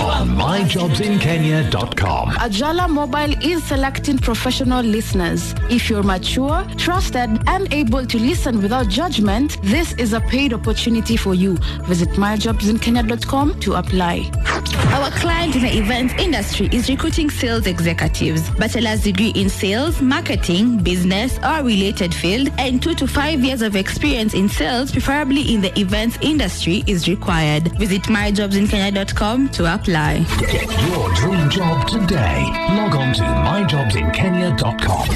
on myjobsinkenya.com. Ajala Mobile is selecting professional listeners. If you're mature, trusted, and able to listen without judgment, this is a paid opportunity for you. Visit myjobsinkenya.com to apply. Our client in the events industry is recruiting sales executives, bachelor's degree in sales, marketing, business, or related field, and 2 to 5 years of experience in sales, preferably in the events industry, is required. Visit myjobsinkenya.com to apply. Get your dream job today. Log on to myjobsinkenya.com.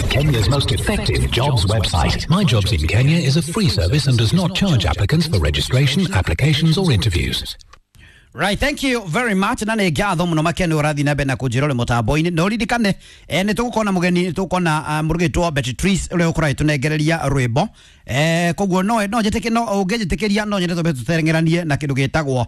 Kenya's most effective jobs website. My Jobs in Kenya is a free service and does not charge applicants for registration, applications, or interviews. Right, thank you very much. Na nä ngatho må no makä nä å rathiä na mbere na kå njä ra å rä må tambo-inä na å ririkane nä tå gå korwo na må geni, nä tå gå korwo na må rå gä Betty Tris å rä a å korwo agä tå nengereria rwä mbo. Koguo no njä tä no å ngä njä tä kä ria no nyende twambe tå tengeranie na kä ndå gä tagwo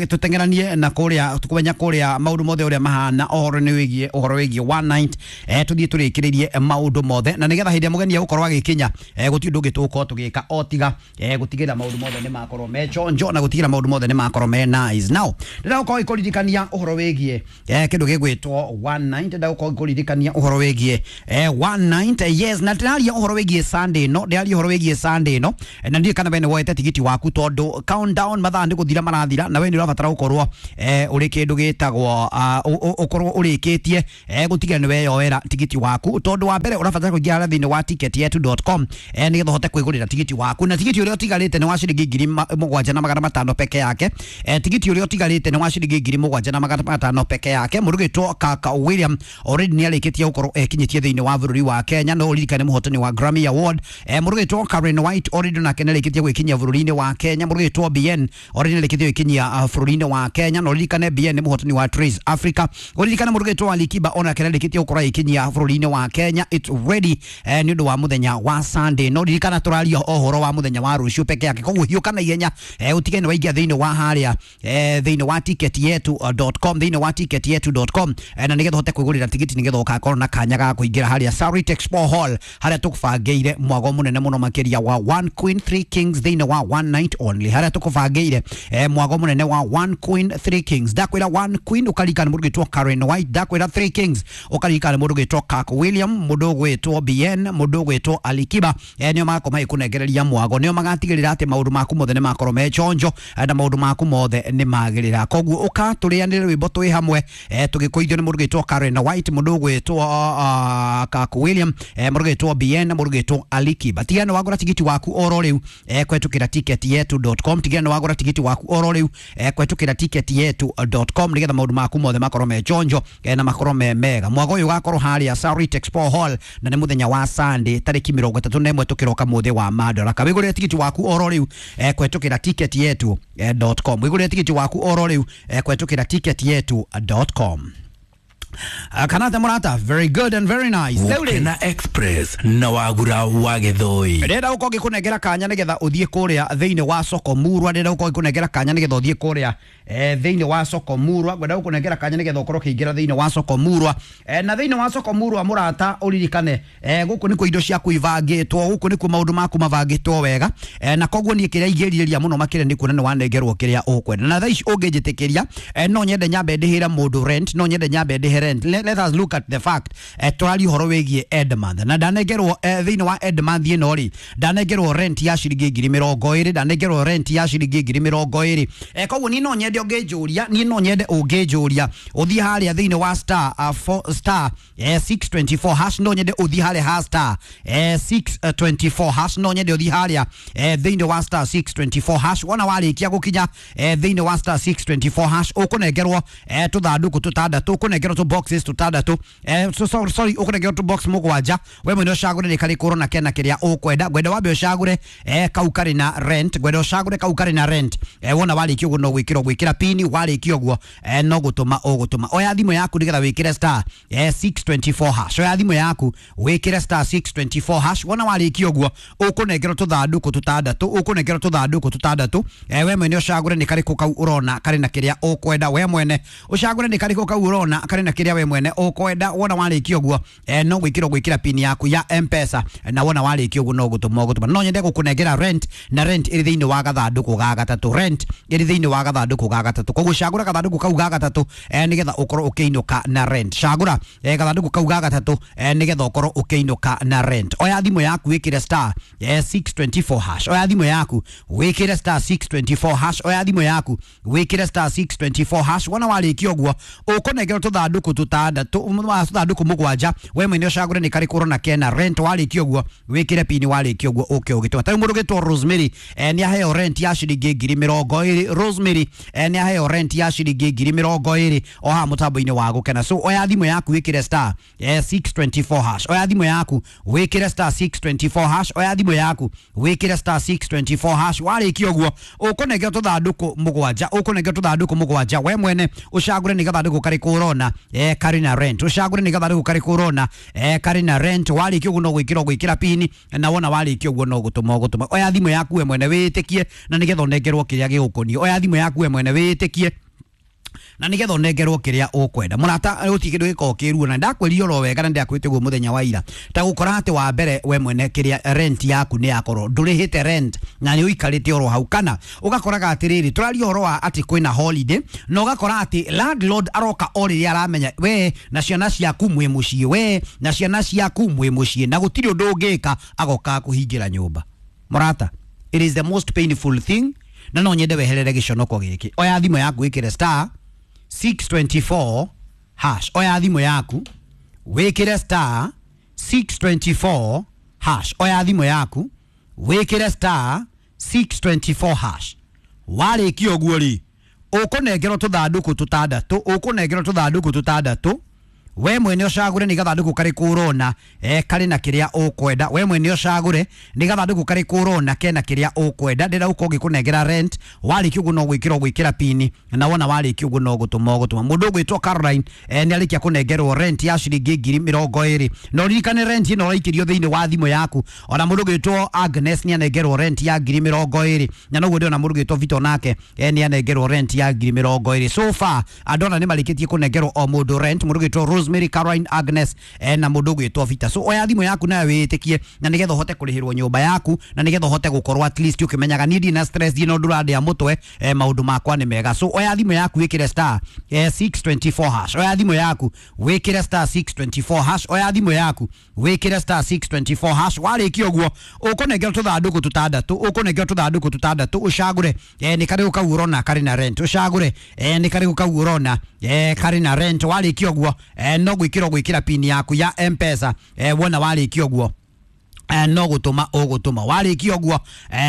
tũteng'eranie na kũrĩa kũmenya kũrĩa maũndũ mothe ũrĩa mahana ũhoro nĩ wĩgiĩ ũhoro wĩgiĩ one night, tũthiĩ tũrĩkĩrĩrie maũndũ mothe na nĩgetha hĩndĩ ĩrĩa mũgeni egũkorwo agĩkinya, gũtirĩ ũndũ ũngĩ tũgũkorwo tũgĩka o tiga gũtigĩrĩra maũndũ mothe nĩ makorwo me chonjo na gũtigĩrĩra maũndũ mothe nĩ makorwo me nice. Now ndĩrenda gũkorwo ngĩkũririkania ũhoro wĩgiĩ kĩndũ gĩgwĩtwo one night, ndĩrenda gũkorwo ngĩkũririkania ũhoro wĩgiĩ one night, yes, na ndĩraria ũhoro wĩgiĩ Sunday no ndĩraria ũhoro wĩgiĩ Sunday no na ndiũĩ kana we nĩ woete tigiti waku tondũ countdown mathaa nĩ gũthira marathira na we nĩ ũrabatara gũkorwo ũrĩ kĩndũ gĩtagwo ũkorwo ũrĩkĩtie gũtigĩrĩra nĩ weyoera tigiti waku tondũ wa mbere ũrabatara kũingĩra harĩa thĩinĩ wa ticketyetu.com nĩgetha ũhote kwĩgũrĩra tigiti waku, na tigiti ũrĩa ũtigarĩte nĩ wa ciringi 7,500 peke yake. Tigiti ũrĩa ũtigarĩte nĩ wa ciringi 7,500 peke yake. Mũrugĩtwo Kaka William already nĩ arĩkĩtie gũkorwo ekinyĩtie thĩinĩ wa bũrũri wa Kenya, no ũririkane mũhotani wa Grammy Award. Mũrugĩtwo Karen White already nake nĩ arĩkĩtie gwĩkinyia bũrũri-inĩ wa Kenya. Mũrugĩtwo BN already nĩ arĩkĩtie gwĩkinyia bũrũri-inĩ wa Kenya, na ũririkane BN nĩ mũhotani wa Trace Africa. Ũririkane mũrugĩtwo Alikiba onake nĩ arĩkĩtie gũkorwo agĩkinyia bũrũri-inĩ wa Kenya. It's ready nĩ ũndũ wa mũthenya wa Sunday, no ririkana tũraria ũhoro wa mũthenya wa rũciũ peke yake, koguo hiũka na ihenya, ũtige nĩ waingĩra thĩinĩ wa harĩa thĩinĩ wa ticketyetu.com, thĩinĩ wa ticketyetu.com, na nĩgetha ũhote kwĩgũrĩra tigiti nĩgetha ũgakorwo na kanya ga kũingĩra harĩa Sarit Expo Hall harĩa tũkũbangĩire mwago mũnene mũno makĩria wa One Queen Three Kings thĩinĩ wa one night only, harĩa tũkũbangĩire mwago mũnene wa One Queen Three Kings. Ndakwĩra One Queen ũkaririkana mũndũ ũgwĩtwo Karen White, ndakwĩra Three Kings ũkaririkana mũndũ ũgwĩtwo Kirk William, mũndũ ũgwĩtwo BN, mũndũ ũgwĩtwo Alikiba, nĩo magakorwo magĩkũnengereria mwago, nĩo magatigĩrĩra atĩ maũndũ maku mothe nĩ makorwo me chonjo na maũndũ maku mothe nĩ magĩrĩra. Koguo ũka tũrĩanĩre rwĩmbo twĩ hamwe, tũgĩkũithio nĩ mũndũ ũgwĩtwo Karen White, mũndũ ũgwĩtwo Kirk William, mũndũ ũgwĩtwo BN, mũndũ ũgwĩtwo Alikiba. Tiga nĩ wagũra tigiti waku oro rĩu kũhetũkĩra ticketyetu.com, tiga nĩ wagũra tigiti waku oro rĩu kũhetũkĩra ticketyetu.com nĩgetha maũndũ maku mothe makorwo me chonjo na makorwo me mega. Mwago ũyũ ũgakorwo harĩa Sarit Expo Hall na nĩ mũthenya wa Sunday tarĩki 31 tũkĩroka mũthĩ wa Madaraka. Wĩgũrĩre tigiti waku oro rĩu kũhetũkĩra ticketyetu.com, wĩgũrĩre tigiti waku oro rĩu kũhetũkĩra ticketyetu.com. Kanata Murata, very good and very nice. Rĩu rĩ, Gukena Express na Wagura wa Gĩthũi. Ndĩrenda gũkorwo ngĩkũnengera kanya nĩgetha ũthiĩ kũrĩa thĩinĩ wa soko murwa, ndĩrenda gũkorwo ngĩkũnengera kanya nĩgetha ũthiĩ kũrĩa thĩinĩ wa soko murwa, ngwenda gũkũnengera kanya nĩgetha ũkorwo ũkĩingĩra thĩinĩ wa soko murwa, na thĩinĩ wa soko murwa mũrata ũririkane, gũkũ nĩkuo indo ciaku ibangĩtwo, gũkũ nĩkuo maũndũ maku mabangĩtwo wega, na koguo niĩ kĩrĩa ingĩrirĩria mũno makĩria nĩ kuona nĩ wanengerwo kĩrĩa ũkwenda. Na thaa ici ũngĩnjĩtĩkĩria, no nyende nyambe ndĩhĩre mũndũ rent, no nyende nyambe ndĩhe rent. Let us look at the fact, tũraria ũhoro wĩgiĩ end month na ndanengerwo thĩinĩ wa end month ĩno rĩ, ndanengerwo rent ya ciringi 20,000, ndanengerwo rent ya ciringi 20,000. Koguo niĩ no nyende ũngĩnjũria, niĩ no nyende ũngĩnjũria ũthiĩ harĩa thĩinĩ wa star four, star 624 hash, no nyende ũthiĩ harĩa ha star 624 hash, no nyende ũthiĩ harĩa thĩinĩ wa star 624 hash. Wona warĩkia gũkinya thĩinĩ wa star 624 hash ũkũnengerwo tũthandũkũ tũtandatũ, ũkũnengerwo tũ boxes tũtandatũ, so, sorry, ũkũnengerwo tũ box mũgwanja. We mwene ũcagũre nĩ karĩkũ ũrona kena kĩrĩa ũkwenda. Ngwenda wambe ũcagũre kau karĩ na rent, ngwenda ũcagũre kau karĩ na rent. Wona warĩkia ũguo no gwĩkĩra ũgwĩkĩra pini, warĩkia ũguo no gũtũma ũgũtũma. Oya thimũ yaku nĩgetha wĩkĩre star 624 hash, oya thimũ yaku wĩkĩre star 624 hash. Wona warĩkia ũguo ũkũnengerwo tũthandũkũ tũtandatũ, ũkũnengerwo tũthandũkũ tũtandatũ. We mwene ũcagũre nĩ karĩkũ kau ũrona karĩ na kĩrĩa ũkwenda, we mwene ũcagũre nĩ karĩkũ kau ũrona karĩ na kĩrĩa kĩrĩa we mwene ũkwenda. Wona warĩkia ũguo no gwĩkĩra gwĩkĩra pin yaku ya M-Pesa, na wona warĩkia ũguo no gũtũma ũgũtũma. No nyende gũkũnengera rent, na rent ĩrĩ thĩinĩ wa gathandũkũ ga gatatũ. Rent ĩrĩ thĩinĩ wa gathandũkũ ga gatatũ. Koguo cagũra gathandũkũ kau ga gatatũ nĩgetha ũkorwo ũkĩinũka na rent. Cagũra gathandũkũ kau ga gatatũ nĩgetha ũkorwo ũkĩinũka na rent. Oya thimũ yaku wĩkĩre star 624 hash. Oya thimũ yaku wĩkĩre star 624 hash. Oya thimũ yaku wĩkĩre star 624 hash. Wona warĩkia ũguo ũkũnengerwo tũthandũkũ tũtandatũ, tũthandũkũ mũgwanja. We mwene ũcagũre nĩ karĩkũ ũrona kena rent. Warĩkia ũguo wĩkĩre pini, warĩkia ũguo ũke ũgĩtũma. Ta rĩu mũndũ ũgĩtwo Rosemary nĩ aheo rent ya ciringi 20,000. Rosemary nĩ aheo rent ya ciringi 20,000 o haha mũtambo-inĩ wa Gũkena. So oya thimũ yaku wĩkĩre star 624 hash. Oya thimũ yaku wĩkĩre star 624 hash. Oya thimũ yaku wĩkĩre star 624 hash. Warĩkia ũguo ũkũnengerwo tũthandũkũ mũgwanja, ũkũnengerwo tũthandũkũ mũgwanja. We mwene ũcagũre nĩ gathandũkũ karĩkũ ũrona karĩ na rent. Ũcagũre nĩ gathandũkũ karĩkũ ũrona karĩ na rent. Warĩkia ũguo no gwĩkĩra gwĩkĩra pini, na wona warĩkia ũguo no gũtũma ũgũtũma. Oya thimũ yaku we mwene wĩtĩkie, na nĩgetha ũnengerwo kĩrĩa gĩgũkoniĩ. Oya thimũ yaku we mwene wĩtĩkie, na nigetha ũnengerwo kĩrĩa ũkwenda. Mũrata, gũtirĩ kĩndũ gĩkoragwo kĩruo, na ndakwĩrire oro wega na ndakwĩte ũguo mũthenya wa ira, ta gũkora atĩ wa mbere we mwene kĩrĩa rent yaku nĩ yakorwo ndũrĩhĩte rent na nĩ ũikarĩte oro hau, kana ũgakoraga atĩrĩrĩ, tũraria ũhoro wa atĩ kwĩna holiday na ũgakora atĩ landlord aroka o rĩrĩa aramenya we na ciana ciaku mwĩ mũciĩ, we na ciana ciaku mwĩ mũciĩ, na gũtirĩ ũndũ ũngĩka, agoka kũhingĩra nyũmba. Mũrata, it is the most painful thing, na no nyende weherere gĩconoko gĩkĩ. Oya thimũ yaku wĩkĩre star 624 hash. Oya thimũ yaku wĩkĩre star 624 hash. Oya thimũ yaku wĩkĩre star 624 hash. Warĩkia ũguo rĩ, ũkũnengerwo tũthandũkũ tũtandatũ, ũkũnengerwo tũthandũkũ tũtandatũ. We mwene ũcagũre nĩ gathandũkũ karĩkũ ũrona karĩ na kĩrĩa ũkwenda. We mwene ũcagũre nĩ gathandũkũ karĩkũ ũrona kena kĩrĩa ũkwenda. Ndĩrenda gũkorwo ngĩkũnengera rent. Warĩkia ũguo no gwĩkĩra gwĩkĩra pini, na wona warĩkia ũguo no gũtũma ũgũtũma. Mũndũ ũgwĩtwo Caroline nĩ arĩkia kũnengerwo rent ya ciringi 20,000. Na ũririkane rent ĩno ũraikĩrio thĩinĩ wa thimũ yaku. Ona mũndũ ũgwĩtwo Agnes nĩ anengerwo rent ya 20,000, na noguo ndĩrona mũndũ ũgwĩtwo Vito nake nĩ anengerwo rent ya 20,000. So far andũ ana nĩ marĩkĩtie kũnengerwo o mũndũ rent, mũndũ ũgwĩtwo Rosemary, Caroline, Agnes na mũndũ ũgwĩtwo Vita. So oya thimũ yaku nayo wĩtĩkie, na nĩgetha ũhote kũrĩhĩrwo nyũmba yaku, na nĩgetha ũhote gũkorwo at least ũkĩmenyaga niĩ ndirĩ na stress, ndirĩ na ũndũ ũrandĩa mũtwe, maũndũ makwa nĩ mega. So oya thimũ yaku wĩkĩre star 624 hash. Oya thimũ yaku wĩkĩre star 624 hash. Oya thimũ yaku wĩkĩre star 624 hash. Warĩkia ũguo ũkũnengerwo tũthandũkũ tũtandatũ, ũkũnengerwo tũthandũkũ tũtandatũ. Ũcagũre nĩ karĩkũ kau ũrona karĩ na rent. Ũcagũre nĩ karĩkũ kau ũrona karĩ na rent. Warĩkia ũguo no gwĩkĩra gwĩkĩra pini yaku ya M-Pesa. Wona warĩkia ũguo no gũtũma ũgũtũma. Warĩkia ũguo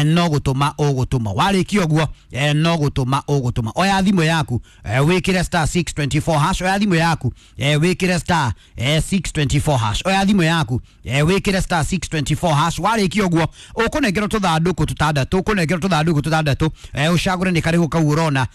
no gũtũma ũgũtũma. Warĩkia ũguo no gũtũma ũgũtũma. Oya thimũ yaku wĩkĩre star 624 hash. Oya thimũ yaku wĩkĩre star 624 hash. Oya thimũ yaku wĩkĩre star 624 hash. Warĩkia ũguo ũkũnengerwo tũthandũkũ tũtandatũ, ũkũnengerwo tũthandũkũ tũtandatũ. Ũcagũre nĩ karĩkũ kau ũrona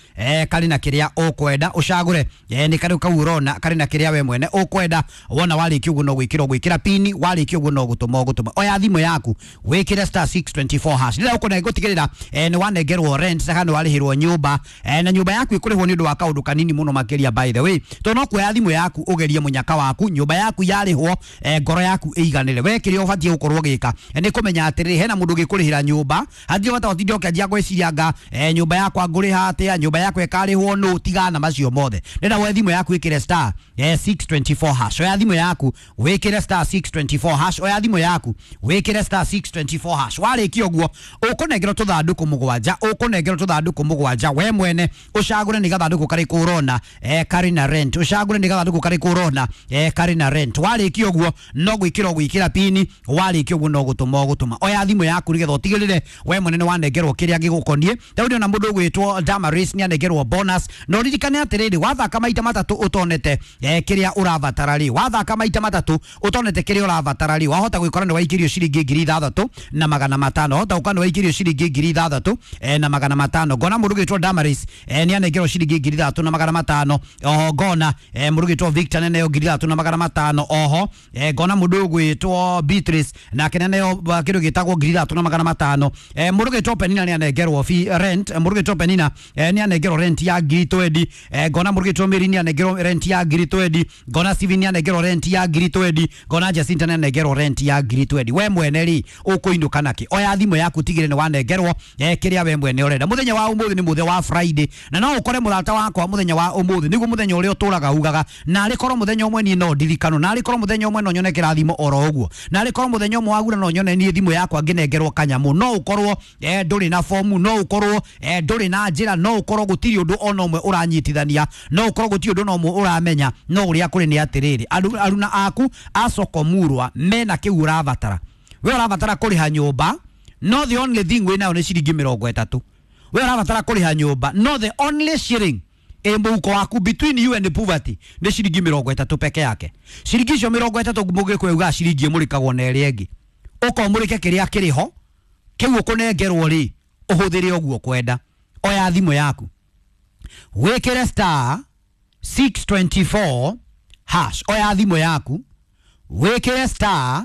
karĩ na kĩrĩa ũkwenda. Ũcagũre nĩ karĩkũ kau ũrona karĩ na kĩrĩa we mwene ũkwenda. Wona warĩkia ũguo no gwĩkĩra gwĩkĩra pini. Warĩkia ũguo no gũtũma ũgũtũma. Oya thimũ yaku wĩkĩre star 624 hash. Rĩrĩa ũkũnengwo gũtigĩrĩra nĩ wanengerwo rent kana nĩ warĩhĩrwo nyũmba, na nyũmba yaku ĩkũrĩhwo nĩ ũndũ wa kaũndũ kanini mũno makĩria, by the way, tondũ no kuoya thimũ yaku ũgerie mũnyaka waku, nyũmba yaku yarĩhwo, ngoro yaku ĩiganĩre. We kĩrĩa ũbatiĩ gũkorwo ũgĩka nĩ kũmenya atĩrĩrĩ, hena mũndũ ũgĩkũrĩhĩra nyũmba, hatirĩ bata ũtinde ũkĩanjia gwĩciria anga nyũmba yakwa ngũrĩha atĩa, nyũmba yakwa ĩkarĩhwo nũ, tigana macio mothe. Nenda woe thimũ yaku wĩkĩre star 624 hash. Oya thimũ yaku wĩkĩre star 624 hash. Oya thimũ yaku wĩkĩre star 624 hash. Warĩkia ũguo ũkũnengerwo tũthandũkũ mũgwanja, ũkũnengerwo tũthandũkũ mũgwanja. We mwene ũcagũre nĩ gathandũkũ karĩkũ ũrona karĩ na rent. Ũcagũre nĩ gathandũkũ karĩkũ ũrona karĩ na rent. Warĩkia ũguo no gwĩkĩra gwĩkĩra pini. Warĩkia ũguo no gũtũma ũgũtũma. Oya thimũ yaku nĩgetha ũtigĩrĩre we mwene nĩ wanengerwo kĩrĩa gĩgũkoniĩ. Ta rĩu ndĩrona mũndũ ũgwĩtwo Damaris nĩ anengerwo bonus, na ũririkane atĩrĩrĩ, wathaka maita matatũ ũtonete kĩrĩa ũrabatara rĩ, wathaka maita matatũ ũtonete kĩrĩa ũrabatara rĩ, wahota gwĩkora nĩ waikĩrio waikĩrio ciringi 6500. Wahota gũka nĩ waikĩrio ciringi 6500. Ngona mũndũ ũgwĩtwo Damaris nĩ anengerwo ciringi 3500. Oho ngona mũndũ ũgwĩtwo Victor nĩ aneo 3500. Oho ngona mũndũ ũgwĩtwo Beatrice nake nĩ aneo kĩndũ gĩtagwo 3500. Mũndũ ũgwĩtwo Penina nĩ anengerwo fee rent. Mũndũ ũgwĩtwo Penina nĩ anengerwo rent ya 20,000. Ngona mũndũ ũgwĩtwo Mary nĩ anengerwo rent ya 20,000. Ngona Steven nĩ anengerwo rent ya 20,000. Ngona Jacinta nĩ anengerwo rent ya 20,000. We mwene rĩ ũkũinũka nakĩ? Oya thimũ yaku tigĩre nĩ wanengerwo kĩrĩa we mwene ũrenda. Mũthenya wa ũmũthĩ nĩ mũthenya wa Friday, na no ũkore mũrata wakwa mũthenya wa ũmũthĩ nĩguo mũthenya ũrĩa ũtũraga ugaga, narĩ korwo mũthenya ũmwe niĩ no ndirikano, narĩ korwo mũthenya ũmwe no nyone kĩrathimo oro ũguo, narĩ korwo mũthenya ũmwe wagura no nyone niĩ thimũ yakwa ngĩnengerwo kanyamũ. No ũkorwo ndũrĩ na fomu, no ũkorwo ndũrĩ na njĩra, no ũkorwo gũtirĩ ũndũ ona ũmwe ũranyitithania, no ũkorwo gũtirĩ ũndũ ona ũmwe ũramenya, no ũrĩa kũrĩ nĩ atĩrĩrĩ, aruna aku a soko murwa mena kĩu ũrabatara. We ũrabatara kũrĩha nyũmba, no the only thing wĩ nayo nĩ ciringi 30. We ũrabatara kũrĩha nyũmba, no the only shilling ĩ mũhuko waku between you and the poverty nĩ ciringi 30 peke yake. Ciringi icio 30 mũgĩkũyũ ugaga ciringi ĩmũrĩkagwo na ĩrĩa ĩngĩ, ũkomũrĩke kĩrĩa kĩrĩ ho kĩu ũkũnengerwo rĩ ũhũthĩre ũguo ũkwenda. Oya thimũ yaku wĩkĩre star 624 hash. Oya thimũ yaku wĩkĩre star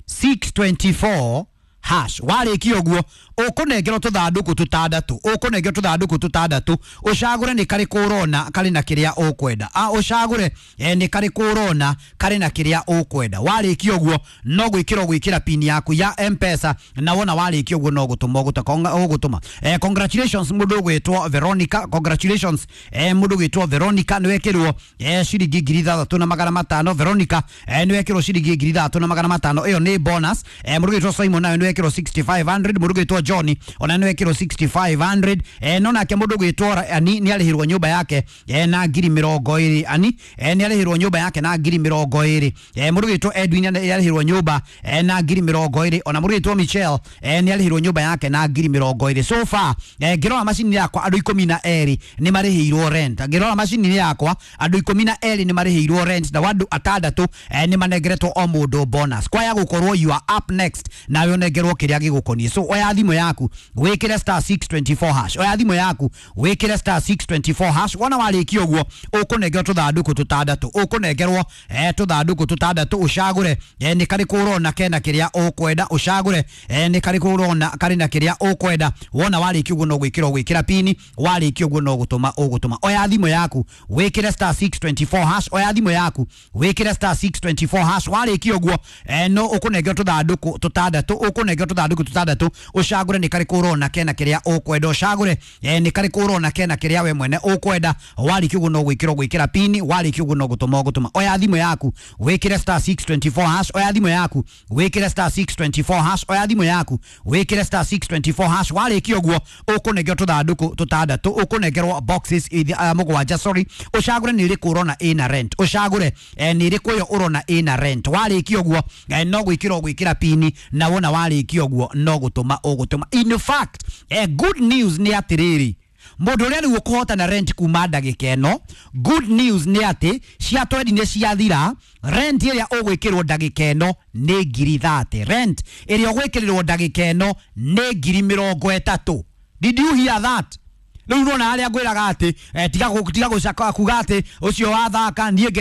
624 hash. Warĩkia ũguo ũkũnengerwo tũthandũkũ tũtandatũ, ũkũnengerwo tũthandũkũ tũtandatũ, ũcagũre nĩ karĩkũ ũrona karĩ na kĩrĩa ũkwenda. Ũcagũre nĩ karĩkũ ũrona karĩ na kĩrĩa ũkwenda. Warĩkia ũguo no gwĩkĩra ũgwĩkĩra pin yaku ya M-Pesa, na wona warĩkia ũguo no gũtũma ũgũtũma. Congratulations mũndũ ũgwĩtwo Veronica, congratulations mũndũ ũgwĩtwo Veronica nĩ wekĩrwo ciringi 6500. Veronica nĩ wekĩrwo ciringi 6500, ĩyo nĩ bonus. Mũndũ ũgwĩtwo Simon nayo nĩ wekĩrwo 6500. Mũndũ ũgwĩtwo John ona nĩ wekĩrwo 6500. No nake mũndũ ũgwĩtwo Ani nĩ arĩhirwo nyũmba yake na 20,000. Ani nĩ arĩhirwo nyũmba yake na 20,000. Mũndũ ũgwĩtwo Edwin nĩ arĩhirwo nyũmba na 20,000. Ona mũndũ ũgwĩtwo Michelle nĩ arĩhirwo nyũmba yake na 20,000. So far ngĩrora macini yakwa andũ 12 nĩ marĩhĩirwo rent. Ngĩrora macini yakwa andũ 12 nĩ marĩhĩirwo rent, na andũ atandatũ nĩ manengeretwo o mũndũ bonus. Kwaya gũkorwo you are up next, nawe ũnengerwo kĩrĩa gĩgũkoniĩ. So oya thimũ yaku wĩkĩre star 624 hash. Oya thimũ yaku wĩkĩre star 624 hash. Wona warĩkia ũguo ũkũnengerwo tũthandũkũ tũtandatũ, ũkũnengerwo tũthandũkũ tũtandatũ, ũcagũre nĩ karĩkũ ũrona kena kĩrĩa ũkwenda, ũcagũre nĩ karĩkũ ũrona karĩ na kĩrĩa ũkwenda. Wona warĩkia ũguo no gwĩkĩra ũgwĩkĩra pini, warĩkia ũguo no gũtũma ũgũtũma. Oya thimũ yaku wĩkĩre star 624 hash. Oya thimũ yaku wĩkĩre star 624 hash. Warĩkia ũguo no ũkũnengerwo tũthandũkũ tũtandatũ, ũkũnengerwo tũthandũkũ tũtandatũ, ũcagũre nĩ karĩkũ ũrona kena kĩrĩa ũkwenda, ũcagũre nĩ karĩkũ ũrona kena kĩrĩa we mwene ũkwenda. Warĩkia ũguo no gwĩkĩra ũgwĩkĩra pini, warĩkia ũguo no gũtũma ũgũtũma. Oya thimũ yaku wĩkĩre star 624 hash. Oya thimũ yaku wĩkĩre star 624 hash. Oya thimũ yaku wĩkĩre star 624 hash. Warĩkia ũguo ũkũnengerwo tũthandũkũ tũtandatũ, ũkũnengerwo boxes mũgwanja, sorry. Ũcagũre nĩ ĩrĩkũ ũrona ĩna rent, ũcagũre nĩ ĩrĩkũ ĩyo ũrona ĩna rent. Warĩkia ũguo no gwĩkĩra ũgwĩkĩra pini, na wona warĩkia ũguo no gũtũma ũgũtũma. In fact, good news nĩ atĩrĩrĩ, mũndũ ũrĩa rĩu ũkũhota na rent kuma ndagĩka ĩno, good news nĩ atĩ cia twendi nĩ ciathira. Rent ĩrĩa ũgwĩkĩrwo ndagĩka ĩno nĩ 30,000. Rent ĩrĩa ũgwĩkĩrĩrwo ndagĩka ĩno nĩ 30,000. Did you hear that? Rĩu nona harĩa ngwĩraga atĩ tiga gũcaka kuga atĩ ũcio wathaka niĩ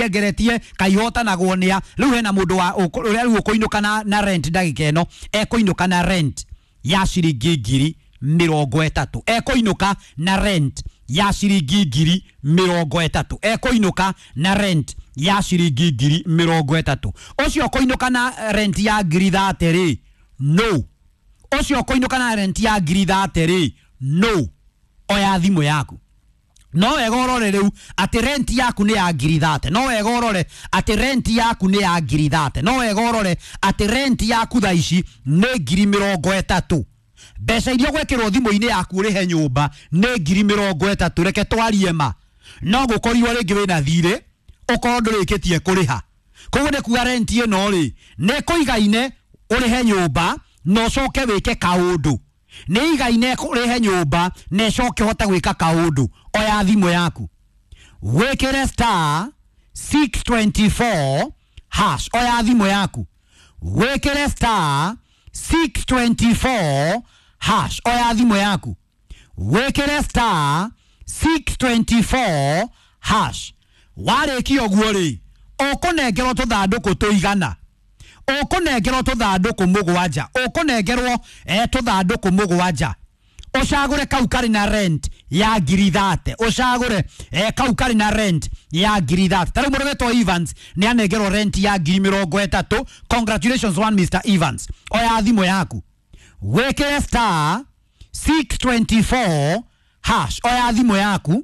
ngeretie kaihotanagwo nĩa. Rĩu hena mũndũ wa ũrĩa rĩu ũkũinũka na rent ndagĩka ĩno, ekũinũka na rent ya ciringi 30,000. Ekũinũka na rent ya ciringi 30,000. Ekũinũka na rent ya ciringi 30,000. Ũcio ũkũinũka na rent ya 30,000 rĩ, no. Ũcio ũkũinũka na rent ya 30,000 rĩ, no. Oya thimũ yaku no wega ũrore rĩu atĩ rent yaku nĩ ya 30,000. No wega ũrore atĩ rent yaku nĩ ya 30,000. No wega ũrore atĩ rent yaku thaa ici nĩ 30,000. Mbeca iria ũgwĩkĩrwo thimũ-inĩ yaku ũrĩhe nyũmba nĩ 30,000. Reke twarie ma, no gũkorirwo rĩngĩ wĩna thirĩ ũkorwo ndũrĩkĩtie kũrĩha. Koguo nĩ kuga rent ĩno rĩ nĩ kũigaine ũrĩhe nyũmba na ũcoke wĩke kaũndũ. Nĩ igaine ũrĩhe nyũmba na ũcoke ũhote gwĩka kaũndũ. Oya thimũ yaku wĩkĩre star 624 hash. Oya thimũ yaku Wĩkĩre star 624 hash. Oya thimũ yaku wĩkĩre star 624 hash. Warĩkia ũguo rĩ, ũkũnengerwo tũthandũkũ tũigana, ũkũnengerwo tũthandũkũ mũgwanja, ũkũnengerwo tũthandũkũ mũgwanja. Ũcagũre kau karĩ na rent ya 30,000, ũcagũre kau karĩ na rent ya 30,000. Ta rĩu mũndũ wetwo Evans nĩ anengerwo rent ya 30,000. Congratulations one Mr Evans. Oya thimũ yaku wĩkĩre star 624 hash. Oya thimũ yaku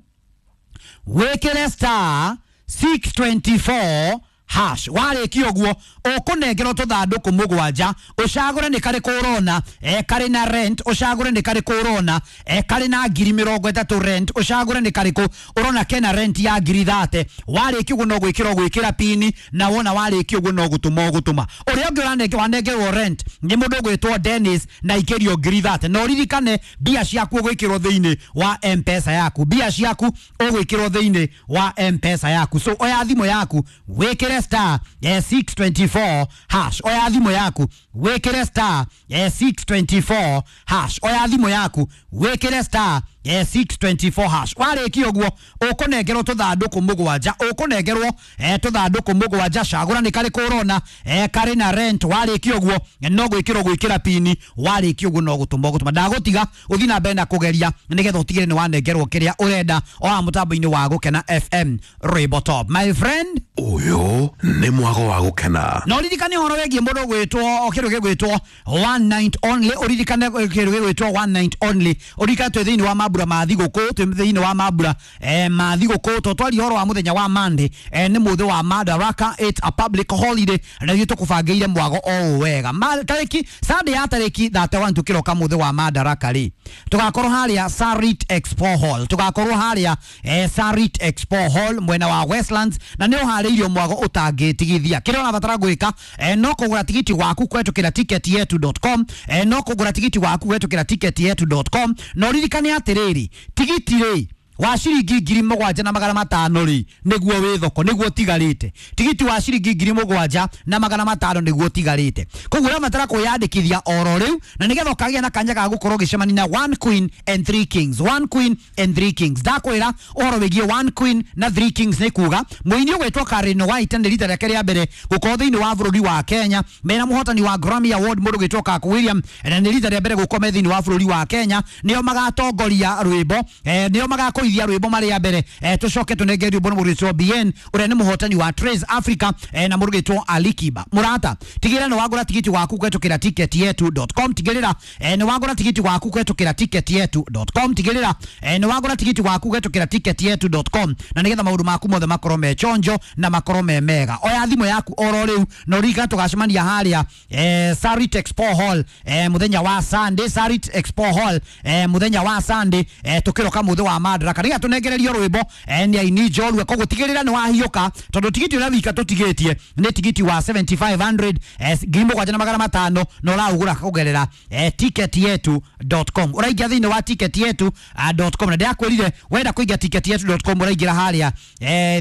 wĩkĩre star 624 hash. Warĩkia ũguo ũkũnengerwo tũthandũkũ mũgwanja, ũcagũre nĩ karĩkũ ũrona karĩ na rent, ũcagũre nĩ karĩkũ ũrona karĩ na 30,000 rent, ũcagũre nĩ karĩkũ ũrona kena rent ya 30,000. Warĩkia ũguo no gwĩkĩra ũgwĩkĩra pini, na wona warĩkia ũguo no gũtũma ũgũtũma. Ũrĩa ũngĩ wanengerwo rent nĩ mũndũ ũgwĩtwo Dennis na ikĩrio 30,000. Na ũririkane mbia ciaku ũgwĩkĩrwo thĩinĩ wa M-Pesa yaku, mbia ciaku ũgwĩkĩrwo thĩinĩ wa M-Pesa yaku. So oya thimũ yaku wĩkĩre star 624 hash. Oya thimũ yaku wĩkĩre star 624 hash. Oya thimũ yaku wĩkĩre star 624 hash. Warĩkia ũguo ũkũnengerwo tũthandũkũ mũgwanja, ũkũnengerwo tũthandũkũ mũgwanja. Cagũra nĩ karĩkũ ũrona karĩ na rent. Warĩkia ũguo no gwĩkĩrwo gwĩkĩra pini, warĩkia ũguo no gũtũma ũgũtũma. Ndagũtiga ũthiĩ na mbere na kũgeria nĩgetha ũtigĩre nĩ wanengerwo kĩrĩa ũrenda o haha mũtambo-inĩ wa Gũkena FM Rwĩmbo Top. My friend, ũyũ nĩ mwago wa Gũkena. Na ũririkane ũhoro wĩgiĩ mũndũ ũgwĩtwo kĩndũ gĩgwĩtwo one night only. Ũririkane kĩndũ gĩgwĩtwo one night only. Ũririkane twĩ thĩinĩ wa mambura ma thigũkũ, twĩ thĩinĩ wa mambura ma thigũkũ. Tũtwaria ũhoro wa mũthenya wa Monday, nĩ mũthĩ wa Madaraka, it's a public holiday, na ithuĩ tũkũbangĩire mwago o ũũ wega. Tarĩki Sunday ya tarĩki 31 tũkĩroka mũthĩ wa Madaraka rĩ, tũgakorwo harĩa Sarit Expo Hall, tũgakorwo harĩa Sarit Expo Hall mwena wa Westlands, na nĩ ũharĩirio mwago ũtangĩtigithia. Kĩrĩa ũrabatara gwĩka no kũgũra tigiti waku kũhetũkĩra ticketyetu.com, no kũgũra tigiti waku kũhetũkĩra ticketyetu.com. Na ũririkane atĩrĩrĩ, tigiti rĩ wa ciringi 7,500 rĩ nĩguo wĩ thoko, nĩguo ũtigarĩte. Tigiti wa ciringi 7,500 nĩguo ũtigarĩte. Koguo ũrabatara kwĩyandĩkithia oro rĩu, na nĩgetha ũkagĩa na kanya ga gũkorwo ũgĩcemania na One Queen and Three Kings. One Queen and Three Kings. Ndakwĩra ũhoro wĩgiĩ One Queen na Three Kings nĩ kuga mũini ũgwĩtwo Karen White nĩ rita rĩake rĩa mbere gũkorwo thĩinĩ wa bũrũri wa Kenya mena mũhotani wa Grammy Award mũndũ ũgwĩtwo Kirk William, na nĩ rita rĩa mbere gũkorwo me thĩinĩ wa bũrũri wa Kenya. Nĩo magatongoria rwĩmbo, nĩo magakoithia rwĩmbo marĩa mbere, tũcoke tũnenge rwĩmbo nĩ mũndũ ũgwĩtwo BN ũrĩa nĩ mũhotani wa Trace Africa, na mũndũ ũgwĩtwo Alikiba. Mũrata, tigĩrĩra nĩ wagũra tigiti waku kũhetũkĩra ticketyetu.com. Tigĩrĩra nĩ wagũra tigiti waku kũhetũkĩra ticketyetu.com. Tigĩrĩra nĩ wagũra tigiti waku kũhetũkĩra ticketyetu.com, na nĩgetha maũndũ maku mothe makorwo me chonjo na makorwo me mega. Oya thimũ yaku oro rĩu na ũririkane tũgacemania harĩa Sarit Expo Hall mũthenya wa Sunday, Sarit Expo Hall mũthenya wa Sunday, tũkĩroka mũthĩ wa Madaraka nĩgetha tũnengererio rwĩmbo nĩ aini njorua. Koguo tigĩrĩra nĩ wahiũka, tondũ tigiti ũrĩa wika tũtigĩtie nĩ tigiti wa 7500 7,500, na ũraũgũra kũgerera ticketyetu.com. Ũraingĩra thĩinĩ wa ticketyetu.com, na ndĩrakwĩrire wenda kũingĩra ticketyetu.com ũraingĩra harĩa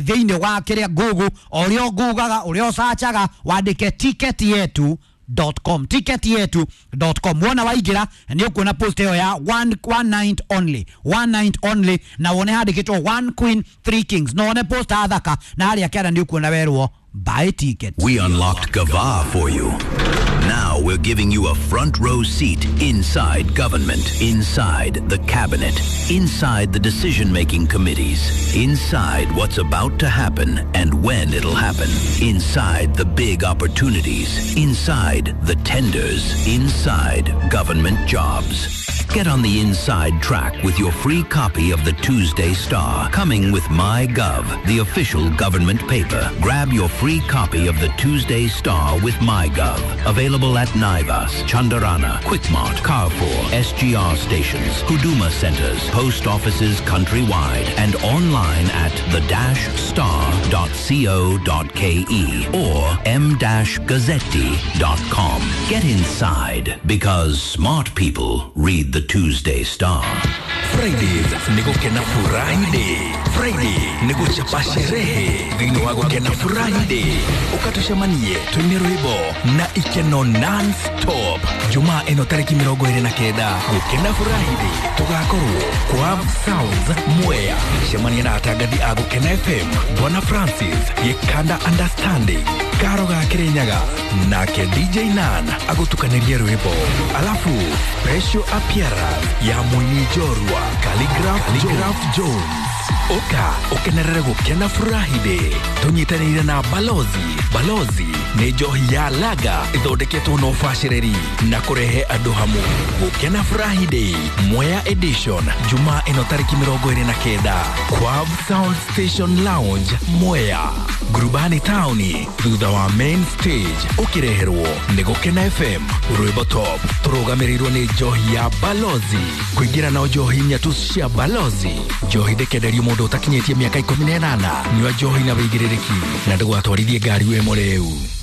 thĩinĩ wa kĩrĩa Google, ũrĩa ũgugaga, ũrĩa ũcacaga, wandĩke ticketyetu.com, ticketyetu.com. Wona waingĩra nĩ ũkuona post ĩyo ya one night only, one night only, na wone handĩkĩtwo One Queen Three Kings, na wone post thaka, na harĩa kĩara nĩ ũkuona werwo buy ticket. We unlocked Gava for you. Now we're giving you a front row seat inside government, inside the cabinet, inside the decision-making committees, inside what's about to happen and when it'll happen, inside the big opportunities, inside the tenders, inside government jobs. Get on the inside track with your free copy of the Tuesday Star, coming with MyGov, the official government paper. Grab your free copy of the Tuesday Star with MyGov. Available at Naivas, Chandarana, Quickmart, Carrefour, SGR stations, Huduma centers, post offices countrywide, and online at the-star.co.ke or m-gazzetti.com. Get inside, because smart people read the Tuesday Star. Fridays nĩ gũkena furahi day. Friday nĩ gũchapa sherehe thĩinĩ wa gũkena furahi day. Ũkatũcemanie twĩne rwĩmbo na ikeno non-stop. Jumaa ĩno tarĩki 29 gũkena furahi day tũgakorwo kwa Sounds Mwea. Cemania na atangathi a Gũkena FM, Bwana Francis, Gĩkanda Understanding, Karo ga Kĩrĩnyaga nake DJ Nan agũtukanĩrie rwĩmbo, alafu special appearance ya mũini njorua Khaligraph Jones. Ũka ũkenerere gũkena furahi day tũnyitanĩire na Balozi. Balozi nĩ njohi ya laga ĩthondeketwo na ũbacĩrĩri na kũrehe andũ hamwe. Gũkena furahi day Mwea edition, Jumaa ĩno tarĩki 29, Quav Sound Station Lounge, Mwea, Ngurubani taũni, thutha wa main stage. Ũkĩreherwo nĩ Gũkena FM, rwĩmbo top, tũrũgamĩrĩirwo nĩ njohi ya Balozi. Kũingĩra na njohi nyatu cia Balozi. Njohi ndĩkenderio mũndũ ũtakinyĩtie mĩaka 18. Nyua njohi na wĩigĩrĩrĩki na ndũgatwarithie ngari wĩ mũrĩu.